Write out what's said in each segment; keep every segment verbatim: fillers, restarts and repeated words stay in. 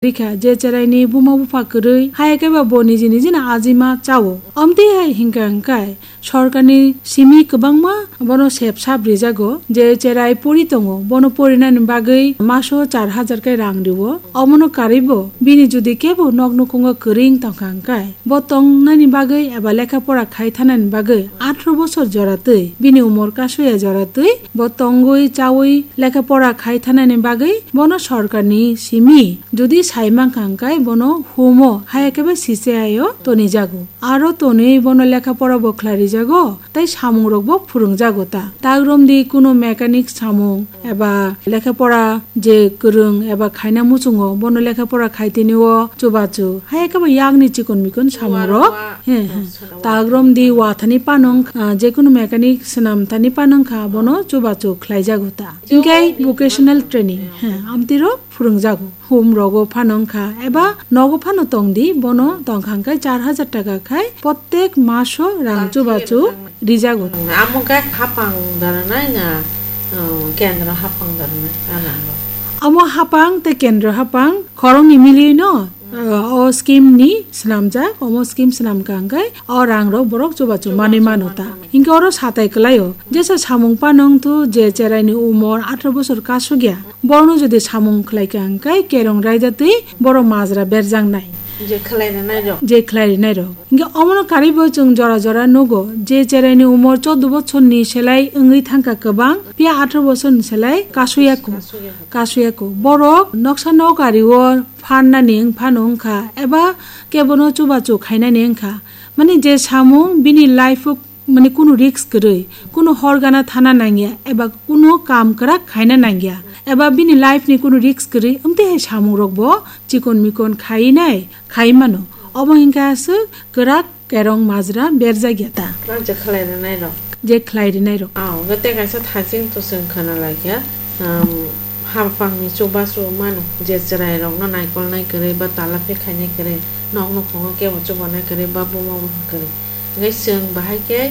rikha, je cheraini buma bupha kwrwi, haya khe ba bo niji niji no ajima chao. Omtwi hai hinkha hwnkhe sorkarni simi kwbangma bono sep sap rijago, je cherai pori tongo, bono porinani bagwi maso char hajar khe rang rio. Omono karwibo bini jodi kebo nok nukhungo kwrwi wng tongkha hwnkhe, bo tongnani bagwi eba lekha pora khai thanani bagwi atharo bosor jora twi, bini umor kasoya jora twi, bo tongwi chawi lekha pora khai thanani bagwi bono sorkarni simi jodi sai mankha hwnkhe bono humo haya khe ba C C I o tonijago. Aro tonwi bono lekha pora bo khlai rijago, tei samungrokbo phwrwngjago ta. Tagrom di kunu mechanic samung eba lekha pora je kwrwng eba khaina muchungo bono lekha pora khai tini o chubachu. Haya khe ba yakni chikon mikon samungrok. He, he. Tagrom di wathani panong, ah, je kunu mechanic swnam thani panong kha bono chubachu khlaijago ta. Hinkhe vocational training, he, amtiro phwrwngjago. Hum rogo phano wngkha eba nogo phano tongdi, bono tongkha hwnkhe char hajar taka khai prottek maso rang chubachu rijago. Amo khe hapang daranai na, uh, kendro hapang daranai, a nango. Amo hapang tei kendro hapang khoroknwi milwino, uh, o scheme ni swnamjak, omo scheme swnamkha hwnkhe o rang rok borok chubachu manwi mano ta. Hinkhe oro satai kwlaio, jesa samung phano wngthu je cheraini umor atharo bosor kasugya, borokno jodi samung khlaikha hwnkhe kerong raida twi borok majra berjaknai. Je khlai rwnai rok. Je khlai rwnai rok. Hinkhe omono karwibo chwng jora jora nugo, je cheraini umor chordo bochorni selai wngwi thangkha kwbang, phiya atharo bochorni selai kasuyako. Kasuyako. Kasuyako. Borok noksa nok ario pharnani wng phano wngkha, eba kebono chubachu khainani wngkha. Mani je samung bini life o mani kunu risk kwrwi, kunu hor gana thana nangya, eba kunu kam kwrak khaina nangya, eba bini life ni kunu risk kwrwi, amtwi hai samung rok bo chikon mikon khai nai, khai mano. Omo hinkhe aswk kwrak kerong majra berjak ya ta. Kwrak je khlai rwnai rok. Je khlai rwnai rok. Ah, hwnkhe tei kaisa thaching to chwng khwna lai kha, um, hapang ni chubachu mano, je chwrai rok no naikolnai kwrwi ba tala phek khainai kwrwi, nok nukhungo kebo chubanai kwrwi ba buma bupha kwrwi. Hwnkhe chwng bahai khe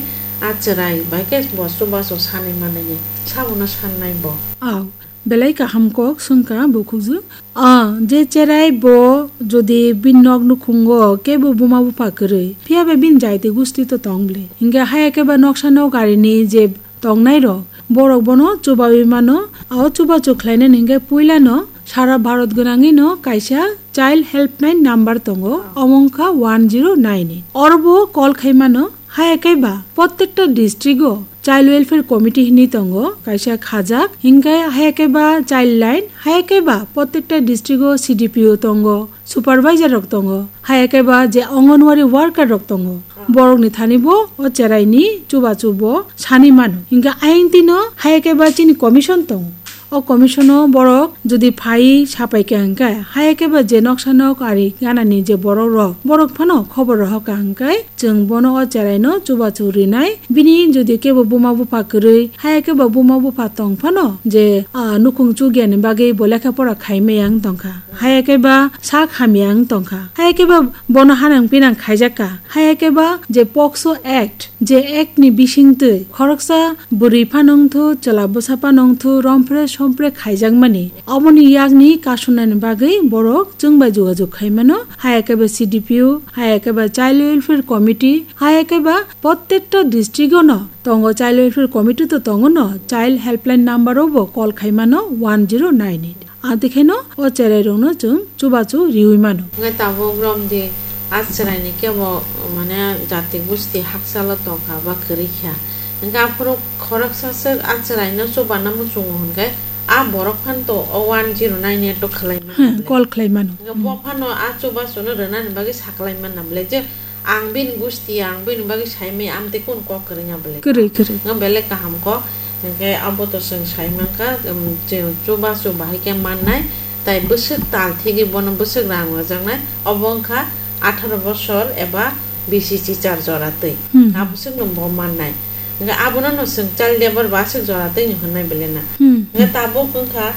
a chwrai bahai khe bo chubachu sanwi manliya, sabono sannai bo. Aw, belai kaham kok swngkha bukhukjwk. Ah, je cherai bo jodi bini nok nukhungo kebo buma bupha kwrwi, phiya ba bini jaiti gusti to tong bwle. Hinkhe haya khe ba noksa nok arini je tongnai rok, borok bono chubawi mano. O chubachu khlainani hinkhe puilano sara Bharat gwnangwi no kaisa Child Helpline number tongo, omo wngkha one zero nine eight. Oro bo call khai mano. Haya khe ba prottekta district o Child Welfare Committee hinwi tongo, kaisa khajak, hinkhe haya khe ba Child Line, haya khe ba prottekta district o C D P O tongo, supervisor rok tongo, haya khe ba je Anganwadi worker rok tongo, borok ni thani bo o cherai ni chubachu bo sani mano. Hinkhe ayang tino haya khe ba chini commission tongo. O commission o borok jodi phai sapai kha hwnkhe, haya khe ba je noksa nok ari gana ni je borok rok, borok phano khobor rohor kha hwnkhe, chwng bono o cherai no chubachu rinai. Bini jodi kebo buma bupha kwrwi, haya khe ba buma bupha tong phano je, ah, nukhung chukya ni bagwi bo lekha pora khai maya wng tong kha, haya khe ba sak hamya wng tong kha, haya khe ba bono hanang pinang khaijak kha, haya khe ba je POCSO Act, je act ni bisingtwi khoroksa bwrwi phano wngthu, chwla bwsa phano wngthu, rompre sompre khaijakmani, oboni yakni kasunani bagwi borok chwng bai jogajog khai mano, haya khe ba C D P O, haya khe ba Child Welfare Committee, haya khe ba prottekta district o no tongo Child Welfare Committee to tongo no, Child Helpline number o bo call khai mano one zero nine eight. Amtwi khe no o cherai rok no chwng chubachu riwi mano. Hwnkhe tabuk romdi a chwraini kebo mane jati gusti hakchalo tongkha ba kwrwi kha. Hwnkhe aphuru khoroksa swk a chwraino chubanw muchungo hwnkhe a borok phano to o one zero nine eight o khlai mano. Hmm, bwle. Call khlai mano. Hwnkhe bo phano a chubachuno rwnani bagwi saklai manna bwle je ang bini gusti, ang bini bagwi saimaya, amtwi kunu kok kwrwngya bwle. Kwrwi, kwrwi. Nga belai kaham kok, hwnkhe abo to chwng sai mankha, um, je chubachu bahai khe mannai, tai bwswk tal thigwi bono bwswk rang rwjaknai, obo wngkha atharo bosor eba bisi chichar jora twi. Hmm. Abwswkno bo mannai. Hwnkhe abono no chwng child labour ba aswk jora twi hwnnai bwle na. Hmm. Hwnkhe tabuk wngkha,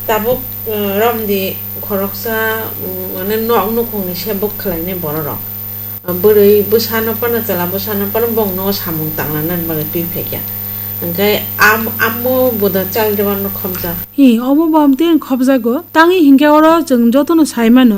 tabuk, uh, romdi khoroksa, um, mane nok nukhungni sebuk khlainai bororok. Bwrwi bwsano phano, chwla bwsano phano bongno samung tangna nani bagwi twi phaikha. Hwnkhe am-, amo boda chal jabano khobjak. Hi, omo bo amtwi ang khobjago. Tangwi hinkhe oro chwng jotono sai mano.